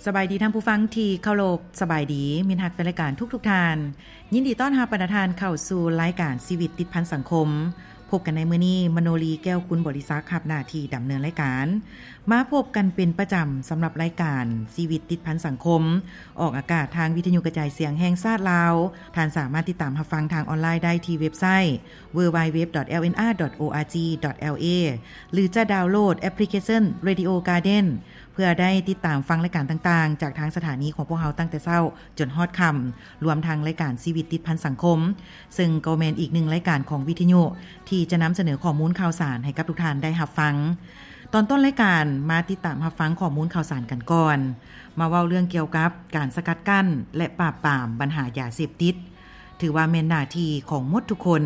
ສະບາຍດີທ່ານຜູ້ຟັງທີ່ເຄົາລົບ, ສະບາຍດີມິດຮັກແຟນລາຍການທຸກໆທ່ານ. ຍິນດີຕ້ອນຮັບບັນດາທ່ານເຂົ້າສູ່ລາຍການຊີວິດຕິດພັນສັງຄົມ. ພົບກັນໃນມື້ນີ້, ມະໂນລີ ແກ້ວກຸນບໍລິສັກ ຮັບໜ້າທີ່ດຳເນີນລາຍການ. ມາພົບກັນເປັນປະຈຳສຳລັບລາຍການຊີວິດຕິດພັນສັງຄົມ, ອອກອາກາດທາງວິທະຍຸກະຈາຍສຽງແຫ່ງຊາດລາວ. ທ່ານສາມາດຕິດຕາມຮັບຟັງທາງອອນລາຍໄດ້ທີ່ເວັບໄຊ ดัບເບິນຢູ ດັບເບິນຢູ ດັບເບິນຢູ ດັບເບິນຢູ ດັບເບິນຢູ ດັບເບິນຢູ ດັບເບິນຢູ ດັບເບິນຢູ ດັບເບິນຢູ ຫຼື ຈະດາວໂຫຼດແອັບພລິເຄຊັນ Radio Garden ເພື່ອໄດ້ຕິດຕາມຟັງລາຍການຕ່າງໆ ຈາກທາງສະຖານີຂອງພວກເຮົາຕັ້ງແຕ່ເຊົ້າຈົນຮອດຄ່ຳ, ລວມທັງລາຍການຊີວິດຕິດພັນສັງຄົມ, ເຊິ່ງກໍແມ່ນອີກໜຶ່ງລາຍການຂອງວິທະຍຸທີ່ຈະນຳສະເໜີຂໍ້ມູນຂ່າວສານໃຫ້ກັບທຸກທ່ານໄດ້ຮັບຟັງ. ຕອນຕົ້ນລາຍການ ມາຕິດຕາມຮັບຟັງຂໍ້ມູນຂ່າວສານກັນກ່ອນ. ມາເວົ້າເລື່ອງກ່ຽວກັບການສະກັດກັ້ນ ແລະ ປາບປາມບັນຫາຢາເສບຕິດ, ຖືວ່າແມ່ນໜ້າທີ່ຂອງໝົດທຸກຄົນ.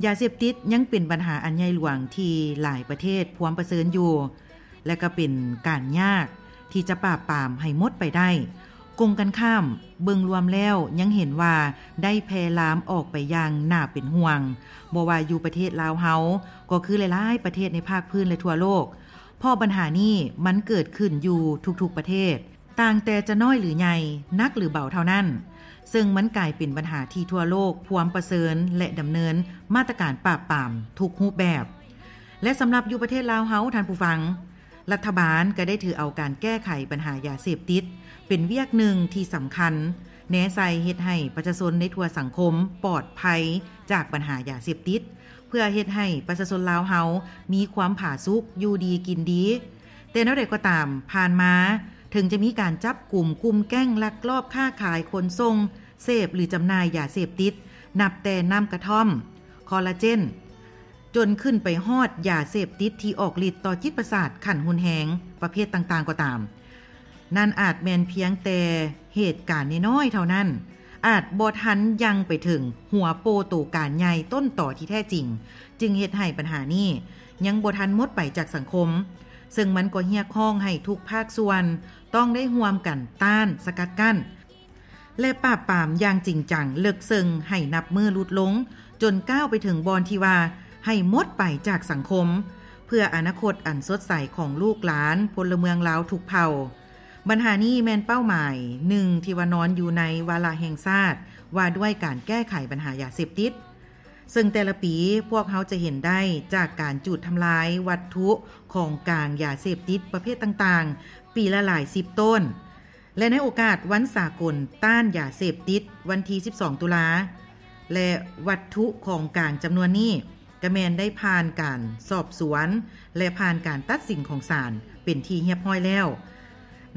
ຢາເສບຕິດຍັງເປັນບັນຫາອັນໃຫຍ່ຫຼວງທີ່ຫຼາຍປະເທດພວມປະເຊີນຢູ່ ແລະ ກໍເປັນການຍາກທີ່ຈະປາບປາມໃຫ້ໝົດໄປໄດ້. ກົງກັນຂ້າມ, ເບິ່ງລວມແລ້ວຍັງເຫັນວ່າໄດ້ແຜ່ລາມອອກໄປຢ່າງໜ້າເປັນຫ່ວງ, ບໍ່ວ່າຢູ່ປະເທດລາວເຮົາ ກໍຄືຫຼາຍໆປະເທດໃນພາກພື້ນ ແລະ ທົ່ວໂລກ, ເພາະບັນຫານີ້ມັນເກີດຂຶ້ນຢູ່ທຸກໆປະເທດ. ຕ່າງແຕ່ຈະນ້ອຍຫຼືໃຫຍ່, ໜັກຫຼືເບົາເທົ່ານັ້ນ, ເຊິ່ງມັນກາຍເປັນບັນຫາທີ່ທົ່ວໂລກພວມປະເຊີນ ແລະ ດຳເນີນມາດຕະການປາບປາມທຸກຮູບແບບ. ແລະ ສຳລັບຢູ່ປະເທດລາວເຮົາ, ທ່ານຜູ້ຟັງ, ລັດຖະບານກໍໄດ້ຖືເອົາການແກ້ໄຂບັນຫາຢາເສບຕິດເປັນວຽກໜຶ່ງທີ່ສຳຄັນ, ແນໃສ່ເຮັດໃຫ້ປະຊາຊົນໃນທົ່ວສັງຄົມປອດໄພຈາກບັນຫາຢາເສບຕິດ, ເພື່ອເຮັດໃຫ້ປະຊາຊົນລາວເຮົາມີຄວາມຜາສຸກ, ຢູ່ດີກິນດີ. ແຕ່ແນວໃດກໍຕາມ, ຜ່ານມາເຖິງຈະມີການຈັບກຸມກຸ່ມແກ້ງລັກລອບຄ້າຂາຍ, ຂົນສົ່ງ, ເສບ ຫຼື ຈຳໜ່າຍຢາເສບຕິດ, ນັບແຕ່ນ້ຳກະທ່ອມ, ຄໍລາເຈນ, ຈົນຂຶ້ນໄປຮອດຢາເສບຕິດທີ່ອອກລິດຕໍ່ຈິດປະສາດຂັ້ນຮຸນແຮງປະເພດຕ່າງໆກໍຕາມ, ນັ້ນອາດແມ່ນພຽງແຕ່ເຫດການນ້ອຍໆເທົ່ານັ້ນ, ອາດບໍ່ທັນຍັ່ງໄປເຖິງຫົວໂປ່ໂຕການໃຫຍ່ຕົ້ນຕໍທີ່ແທ້ຈິງ, ຈຶ່ງເຮັດໃຫ້ບັນຫານີ້ຍັງບໍ່ທັນໝົດໄປຈາກສັງຄົມ, ເຊິ່ງມັນກໍຮຽກຮ້ອງໃຫ້ທຸກພາກສ່ວນຕ້ອງໄດ້ຮ່ວມກັນຕ້ານ, ສະກັດກັ້ນ ແລະ ປາບປາມຢ່າງຈິງຈັງເລິກເຊິ່ງໃຫ້ນັບມື້ຫຼຸດລົງ, ຈົນກ້າວໄປເຖິງບ່ອນທີ່ວ່າໃຫ້ໝົດໄປຈາກສັງຄົມ, ເພື່ອອະນາຄົດອັນສົດໃສຂອງລູກຫຼານພົນລະເມືອງລາວທຸກເຜົ່າ. ບັນຫານີ້ແມ່ນເປົ້າໝາຍໜຶ່ງທີ່ວ່ານອນຢູ່ໃນວາລະແຫ່ງຊາດວ່າດ້ວຍການແກ້ໄຂບັນຫາຢາເສບຕິດ, ເຊິ່ງແຕ່ລະປີພວກເຮົາຈະເຫັນໄດ້ຈາກການຈູດທຳລາຍວັດຖຸຂອງກາງຢາເສບຕິດປະເພດຕ່າງໆ ປີລະຫຼາຍສິບໂຕນ. ແລະ ໃນໂອກາດວັນສາກົນຕ້ານຢາເສບຕິດ ວັນທີສິບສອງ ຕຸລາ ແລະ ວັດຖຸຂອງກາງຈຳນວນນີ້ ກະແມ່ນໄດ້ຜ່ານການສອບສວນ ແລະ ຜ່ານການຕັດສິນຂອງສານເປັນທີ່ຮຽບຮ້ອຍແລ້ວ.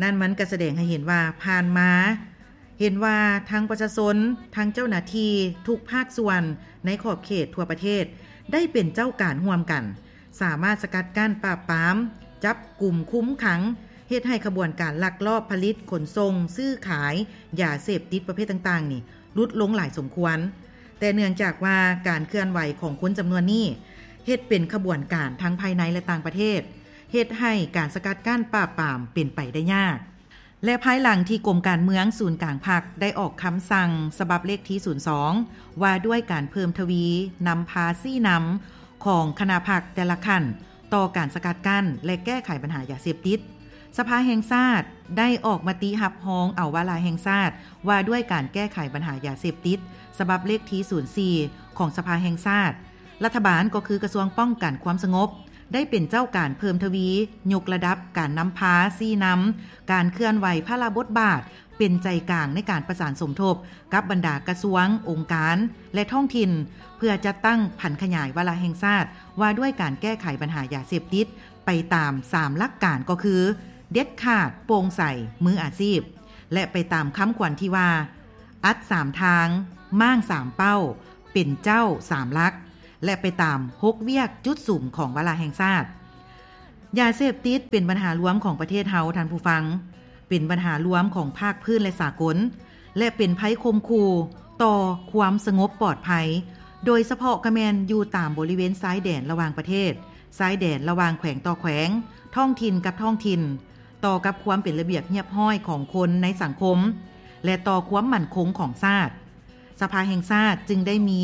ນັ້ນມັນກະສະແດງໃຫ້ເຫັນວ່າ ຜ່ານມາເຫັນວ່າທັງປະຊາຊົນ, ທັງເຈົ້າໜ້າທີ່ທຸກພາກສ່ວນໃນຂອບເຂດທົ່ວປະເທດ ໄດ້ເປັນເຈົ້າການຮ່ວມກັນ, ສາມາດສະກັດກັ້ນ, ປາບປາມ, ຈັບກຸມ, ຄຸມຂັງ, ເຮັດໃຫ້ຂະບວນການລັກລອບຜະລິດ, ຂົນສົ່ງ, ຊື້ຂາຍຢາເສບຕິດປະເພດຕ່າງໆນີ້ ຫຼຸດລົງຫຼາຍສົມຄວນ. ແຕ່ເນື່ອງຈາກວ່າການເຄື່ອນໄຫວຂອງຄົນຈຳນວນນີ້ ເຮັດເປັນຂະບວນການທັງພາຍໃນ ແລະ ຕ່າງປະເທດ, ເຮັດໃຫ້ການສະກັດກັ້ນປາບປາມເປັນໄປໄດ້ຍາກ. ແລະ ພາຍຫຼັງທີ່ກົມການເມືອງສູນກາງພັກໄດ້ອອກຄຳສັ່ງສະບັບເລກທີສູນສອງ ວ່າດ້ວຍການເພີ່ມທະວີນຳພາຊີ້ນຳຂອງຄະນະພັກແຕ່ລະຂັ້ນ ຕໍ່ການສະກັດກັ້ນ ແລະ ແກ້ໄຂບັນຫາຢາເສບຕິດ, ສະພາແຫ່ງຊາດໄດ້ອອກມະຕິຮັບຮອງເອົາວາລະແຫ່ງຊາດວ່າດ້ວຍການແກ້ໄຂບັນຫາຢາເສບຕິດ ສະບັບເລກທີສູນສີ່ ຂອງສະພາແຫ່ງຊາດ. ລັດຖະບານ ກໍຄືກະຊວງປ້ອງກັນຄວາມສະຫງົບ ໄດ້ເປັນເຈົ້າການເພີ່ມທະວີຍົກລະດັບການນຳພາຊີ້ນຳການເຄື່ອນໄຫວພາລະບົດບາດ ເປັນໃຈກາງໃນການປະສານສົມທົບກັບບັນດາກະຊວງ, ອົງການ ແລະ ທ້ອງຖິ່ນ ເພື່ອຈັດຕັ້ງຜັນຂະຫຍາຍວາລະແຫ່ງຊາດວ່າດ້ວຍການແກ້ໄຂບັນຫາຢາເສບຕິດ ໄປຕາມສາມຫຼັກການ ກໍຄື ເດັດຂາດ, ໂປ່ງໃສ, ມືອາຊີບ ແລະ ໄປຕາມຄຳຂວັນທີ່ວ່າ ອັດສາມທາງ, ມ້າງສາມເປົ້າ, ເປັນເຈົ້າສາມຫຼັກ ແລະ ໄປຕາມຫົກວຽກຈຸດສຸມຂອງວາລະແຫ່ງຊາດ. ຢາເສບຕິດເປັນບັນຫາລວມຂອງປະເທດເຮົາ, ທ່ານຜູ້ຟັງ, ເປັນບັນຫາລວມຂອງພາກພື້ນ ແລະ ສາກົນ ແລະ ເປັນໄພຂົ່ມຂູ່ຕໍ່ຄວາມສະຫງົບປອດໄພ, ໂດຍສະເພາະກະແມ່ນຢູ່ຕາມບໍລິເວນຊາຍແດນລະຫວ່າງປະເທດ, ຊາຍແດນລະຫວ່າງແຂວງຕໍ່ແຂວງ, ທ້ອງຖິ່ນກັບທ້ອງຖິ່ນ, ຕໍ່ກັບຄວາມເປັນລະບຽບຮຽບຮ້ອຍຂອງຄົນໃນສັງຄົມ ແລະ ຕໍ່ຄວາມໝັ້ນຄົງຂອງຊາດ. ສະພາແຫ່ງຊາດຈຶ່ງໄດ້ມີ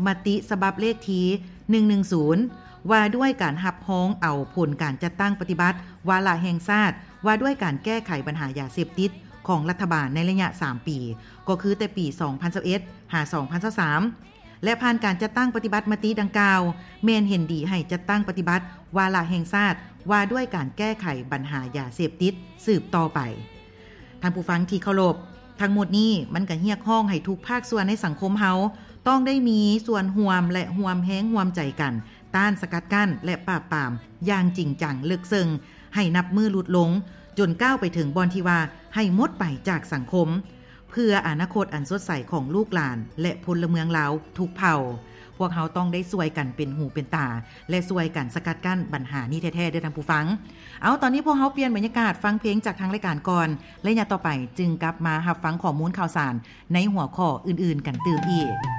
ມະຕິສະບັບເລກທີໜຶ່ງໜຶ່ງສູນ ວ່າດ້ວຍການຮັບຮອງເອົາຜົນການຈັດຕັ້ງປະຕິບັດວາລະແຫ່ງຊາດ ວ່າດ້ວຍການແກ້ໄຂບັນຫາຢາເສບຕິດຂອງລັດຖະບານໃນໄລຍະສາມປີ ກໍຄືແຕ່ປີສອງພັນຊາວເອັດ ຫາ ສອງພັນຊາວສາມ ແລະ ຜ່ານການຈັດຕັ້ງປະຕິບັດມະຕິດັ່ງກ່າວ ແມ່ນເຫັນດີໃຫ້ຈັດຕັ້ງປະຕິບັດວາລະແຫ່ງຊາດ ວ່າດ້ວຍການແກ້ໄຂບັນຫາຢາເສບຕິດສືບຕໍ່ໄປ. ທ່ານຜູ້ຟັງທີ່ເຄົາລົບ, ທັງໝົດນີ້ມັນກໍຮຽກຮ້ອງໃຫ້ທຸກພາກສ່ວນໃນສັງຄົມເຮົາ ຕ້ອງໄດ້ມີສ່ວນຮ່ວມ ແລະ ຮ່ວມແຮງຮ່ວມໃຈກັນ ຕ້ານສະກັດກັ້ນ ແລະ ປາບປາມຢ່າງຈິງຈັງເລິກເຊິ່ງ ໃຫ້ນັບມື້ຫຼຸດລົງ ຈົນກ້າວໄປເຖິງບ່ອນທີ່ວ່າໃຫ້ໝົດໄປຈາກສັງຄົມ ເພື່ອອະນາຄົດອັນສົດໃສຂອງລູກຫຼານ ແລະ ພົນລະເມືອງລາວທຸກເຜົ່າ. ພວກເຮົາຕ້ອງໄດ້ຊ່ວຍກັນເປັນຫູເປັນຕາ ແລະ ຊ່ວຍກັນສະກັດກັ້ນບັນຫານີ້ແທ້ໆ ເດີທ່ານຜູ້ຟັງ. ເອົາ, ຕອນນີ້ພວກເຮົາປ່ຽນບັນຍາກາດຟັງເພງຈາກທາງລາຍການກ່ອນ, ໄລຍະຕໍ່ໄປຈຶ່ງກັບມາຮັບຟັງຂໍ້ມູນຂ່າວສານໃນຫົວຂໍ້ອື່ນໆກັນຕື່ມອີກ.